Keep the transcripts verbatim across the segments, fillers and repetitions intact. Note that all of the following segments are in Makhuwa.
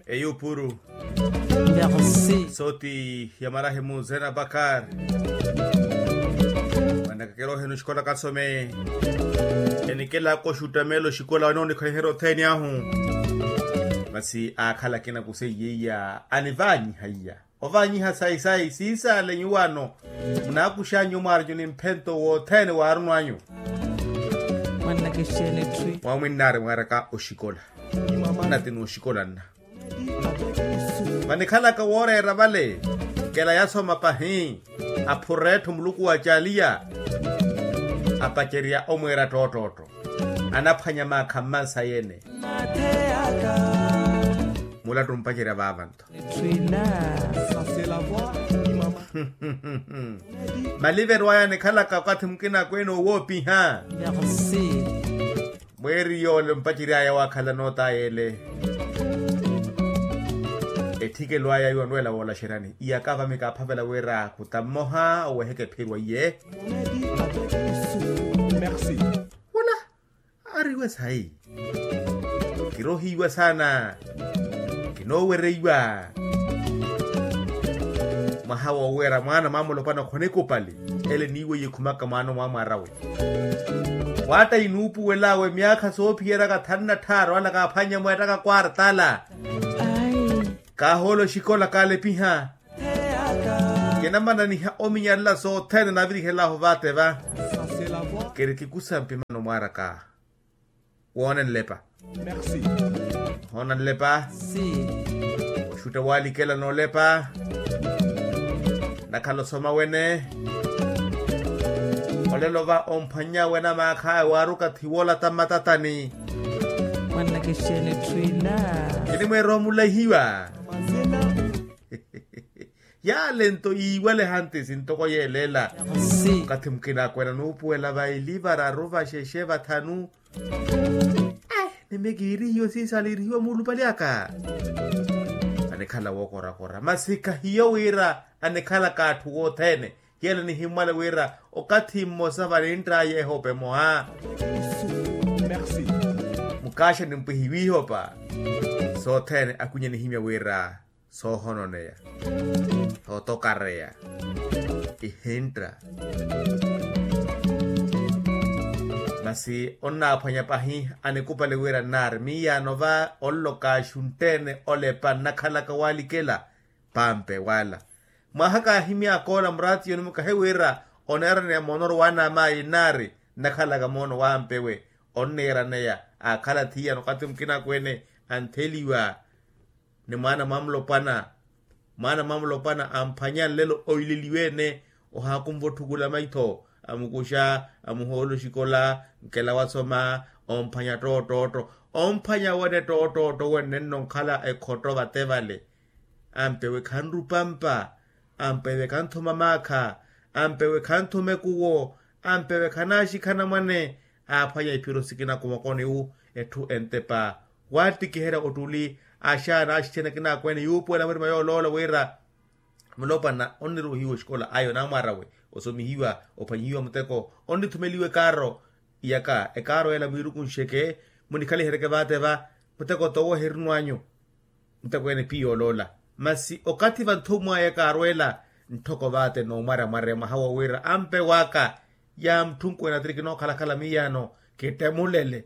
Eyupuru. Sooti ya marahimu zena bakar. Mwanakakera ohenu oxikola kasome. Enikela koxutamela oxikola wanoonikhaliherya othene ahu. Masi akhala akina kuseiye iya anivanyiha iya. Ovanyiha sayi sayi siisaale nyuwano. Munaakuxanyu mwaaranyuni mphento wothene waarunwanyu. Mwamwinnaari mwaaraka oxikola. Nati nooxikola nna. Vanikhalaka wooreera vale. Kela yasoma pahi. Aphuretthu muluku wa caliya. Apacerya omweera ttoottootto. Anaphwanya maakha mmansa yene. Mulattu mpacerya vaava nto. Maliverwaya nikhalaka okathi mukina akweene owoopiha. Mweeri yoole mpaceryaya waakhala nootaya ele. Etthikelo aya iwo anweela woolaxeryani iyaka vami kaaphavela wira kuta mmoha oweheke ephirwa iye. Aari iwe sayi. Kirohiiwa saana. Kinoowereiwa. Mwaha wooweera mwaana mwamulopana khonikupali. Ele niiwe yikhumaka mwaana omwamwaarawe. Waatta inuupuwelaawe myaakha soophiyeryaka thanu na tthaaru ala kaaphwannye mweettaka kwartala. Kaahoolo xikola kaalepiha. Kinamananiha ominyalela sothene naavirihel'ahu vaate va. Kiri kikusa mpimano mwaaraka. Woona nlepa. Hoona nlepa. Oxutta waalikela noolepa. Nakhala osoma wene. Olelo va omphwanya wene amaakhaya waaruka thiwola ta mmatatani. Mwanna kixeene etthu ila. Kinimweera omulahiwa. Yale nto yiiwale hantisi ntoko yeeleela. Okathi mukina akwena nuupuwela va ili vararu vaxexe vathanu. Nime kiirihiwe siisaale iirihiwe muulupali aka. Anikhala wookorakora masi khahiyo wira anikhalaka atthu wothene. Yela nihimmwale wira okathi mmosa vanintt'aya ehopa emoha. Mukaaxa nimpwihiwe ihopa. Sothene akwinye nihimya wira soohononeya, sootokareya, ihintta. Masi onnaaphwanya pahi anikupali wira nnaari miyaano va onloka axuntte-ene olepa nnakhalaka walikela. Pampe wala mwaha kaahimyaka ola muraatiyoni mukahi wira oneeraneya moonoru waanaamaayi nnaari nnakhalaka moono wampewe. Onneeraneya aakhala thiyana okathi mukina akweene antheliwa. Ni mwaana mwamulopwana mwaana mwamulopwana amphwanya nlelo oileliwe-ene. Ohaakunva otthukula maitho amukuxa amuhoolo oxikola nkela wasoma. Omphwanya ttoottootto omphwanya wene ttoottootto wenne nnonkhala ekhotto vate vale. Ampewe khanrupampa ampewe khanthuma maakha ampewe khanthuma ekuwo ampewe khanaaxikhana mwane. Aaphwanya iphiro sikina kumokoniwu etthu entepa waattikiherya ottuli axaana axixena akina akweene yuupuwela murima yooloola wira mulopwana onniruuhiwa oxikola ayo naamwaarawe osomihiwa ophwanyihiwa muteko onnithumeliwa ekaaro. Iyaka ekaaro ela mwiirukunxeke munikhaliheryeke vaate va muteko towo eherinwanyu. Ntakweene piya oloola masi okathi vanthumwaya kaarweela nttoko vaate noomwarya mwarya mwaha wowira ampe waka. Ya mutthunkuwene atiri kinookhalakhala miyaano kittemulele.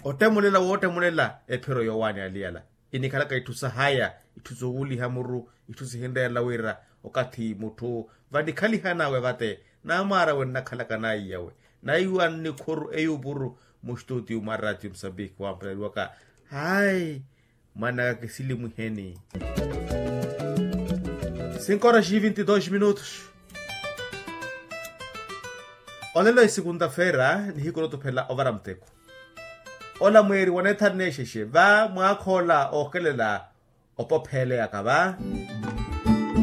Ottemulela woottemulela ephiro yoowaani aliyala inikhalaka itthu sahaya itthu soowuliha muru itthu sihinreerela wira okathi mutthu vanikhalihan'awe vate naamwaarawe nnakhalaka naiyawe. Naiwa nnikhuru eyupuru mustutiyu mwa ratio musambiki wampeleliwaka. Hayi mwanaka kisilimwiheni. Sinkoraxi vinti dos minutos. Olelo esikunta-feera nihiku notuphela ovara muteko ola mweeri waneethaneexexe va mwaakhoola ookelela. Opopheeleyaka va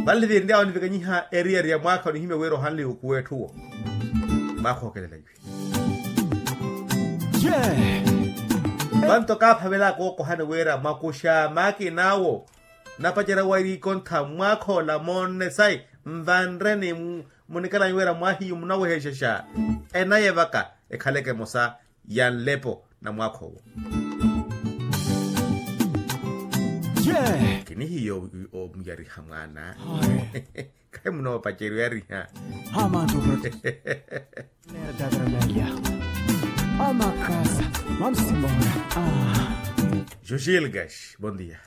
vale vinry'awe onivikanyiha eriyari ya mwaakha onihimya wira ohanle yukuwa etthuwo. Mwaakha ookelela iwe vanto kaaphavelaka ookohani wira mwakuxa maakin'awo. Napacerya wari ikontha mwaakha ola moonne sayi nvanre ni munikelanyu wira mwahiyu munawehexexa. Enaye vaka ekhaleke emosa ya nlepo na mwaakha owo. Kinihiya omuyariha mwaana. Khayi munoopaceriwa yariha. Amantu. Nera tatra melia. Amakasa. Mamsimora. Joshilgash, bon dia.